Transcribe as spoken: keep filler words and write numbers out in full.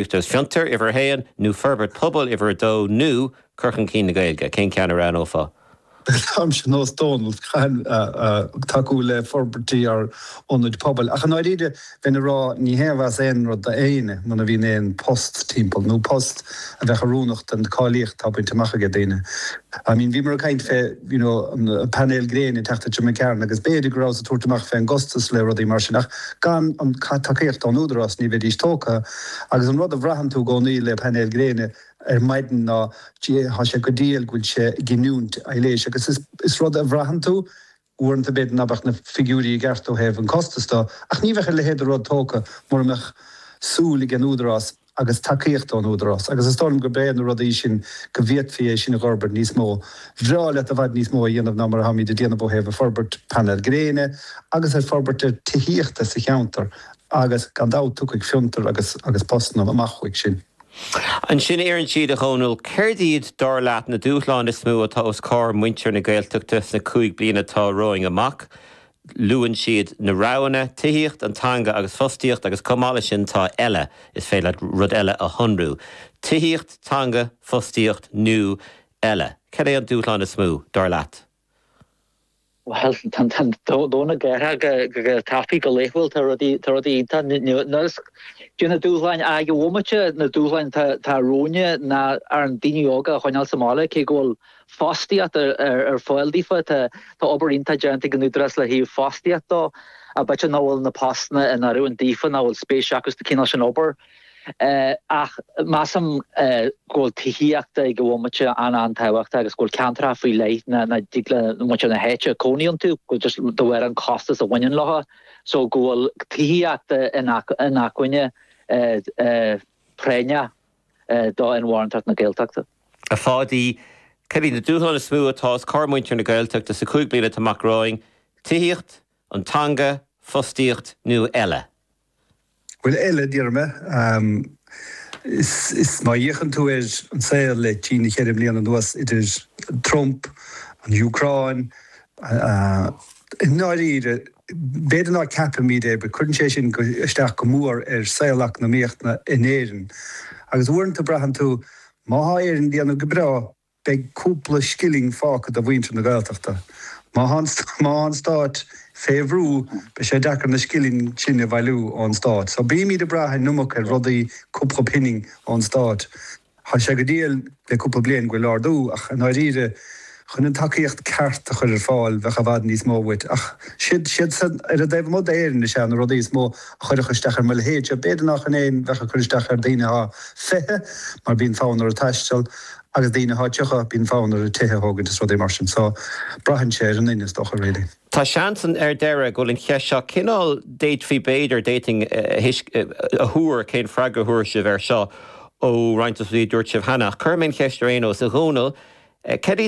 Agus fiontar uimhir a haon nó forbairt pobail uimhir a dó nó cur chun cinn na Gaeilge, cén ceann a roghnófá? Táimse nós Dónal tacú le forbairtí ar ionaid pobail. Ach an áiríde bheinn ag rá ní haon mhaith aon rud d'aoinne muna bhíonn aon post timpeall nó post a bheadh oiriúnach don cáilíocht atá bainte amach ag daoine. I mean bhíomar ag caint fé you know an painéil gréine ag teacht i Carn agus b'fhéidir go raibh ag tabhairt amach fé an gcostas le rudaí mar sin ach gan an tacaíocht ón údarás ní bheidís tógtha agus an rud a bhraitheann tú i gcónaí le painéil gréine ar maidin ná tá sé go diail go bhfuil sé ag giniúint aibhléis agus is, is rud a bhraitheann tú uaireanta b'fhéidir nach mbeadh na figiúirí i gceart ó thaobh an costas de ach ní bheadh a leithéid de rud tógtha mura mbeadh súil ag an údarás agus tacaíocht ón údarás agus is dóigh liom gurb é na rudaí sin go bhféadfaí é sin a fhorbairt níos mó. Bhreá leat i bhfad níos mó a dhéanamh ná mar atáimid ag déanamh ó thaobh a forbairt painéil gréine agus ar forbairt ar tithíochta sa cheantar agus gan dabht tiocfaidh fiontar agus agus postanna amach uaidh sin. Ansin iarrann siad a Dhónaill céard iad dar leat na dúshláin is mó atá os comhair muintir na Gaeltachta sna cúig bliana atá romhainn amach. Luann siad na roghanna, tithíocht an teanga agus fostaíocht agus chomh maith leis sin tá eile is féidir rud eile a shonrú. Tithíocht, teanga, fostaíocht nó eile. Cad é an dúshlán is mó dar leat? Well dóna geha go tapaidh go laethúil tá rudaí tá rudaí de na dúshláin ag bhomaite na dúshláin tá romhainne ná ar an daoine óga a choinneáil sa mbaile cé go bhfuil fostaíocht ar fáil daofa tá tá obair iontach déanta ag an údarás le haghaidh fostaíocht dó a b'fhéidir nach bhfuil na postanna in oiriúint daofa nach bhfuil spéis acu sa cineál sin obair. Uh, ach measaim uh, go bhfuil tithíocht ag bhomaite an an-tábhachtach agus go bhfuil ceantracha faoi leith na na dtig le muintir na háite cónaí iontu go just de bharr an costas a bhaineann leo so go bhfuil tithíocht in acmhainne uh, uh, práinne uh, do inmharthanacht na Gaeltachta. A Pháidí cad iad na dúshláin is mó atá os comhair muintir na Gaeltachta sa cúig bliana atá amach romhainn, tithíocht, an teanga, fostaíocht nó eile. Well eile déarfainn um, is, is má fhéachann tú ar an saol le trí na ceithre bliana anuas idir Trump, an Úcráin, uh, i ndáiríre b'fhéidir ná ceapaimid é, cuireann sé sin isteach go mór ar saol eacnamaíochta in Éirinn. Agus uaireanta braitheann tú má tá Éirinn ag déanamh go breá beidh cúpla scilling fágtha do mhuintir na Gaeltachta. Má má an stát fé bhrú beidh sé deacair na scilling sin a bhailiú ón stát. So bímid ag brath an iomarca ar rudaí cúpla pingin ón stát. Tá sé go diail le cúpla bliain go bhfuil ardú ach an áiríre chun an tacaíocht ceart a chur ar fáil bheadh i bhfad níos mó uait ach siad siad san ar a dtaobh amuigh d'Éirinn is ea na rudaí is mó a chuirfeadh isteach ar mo leithéid b'fhéidir nach in aon bheadh ag cur isteach ar daoine atá fiche mar bíonn fonn orthu taisteal agus daoine atá tríocha bíonn fonn orthu tithe a thógaint is rudaí mar sin so braitheann sé ar an duine is dócha really. Tá seans ar deireadh go bhfuil an cheist seo cineál d'fhéadfaí b'fhéidir d'fhéadfainn a thuar cén freagra a thabharfadh sibh air seo ó roinnt a dúirt sibh cheana. Cuir mé an cheist ar aon nós a Dhónaill, cad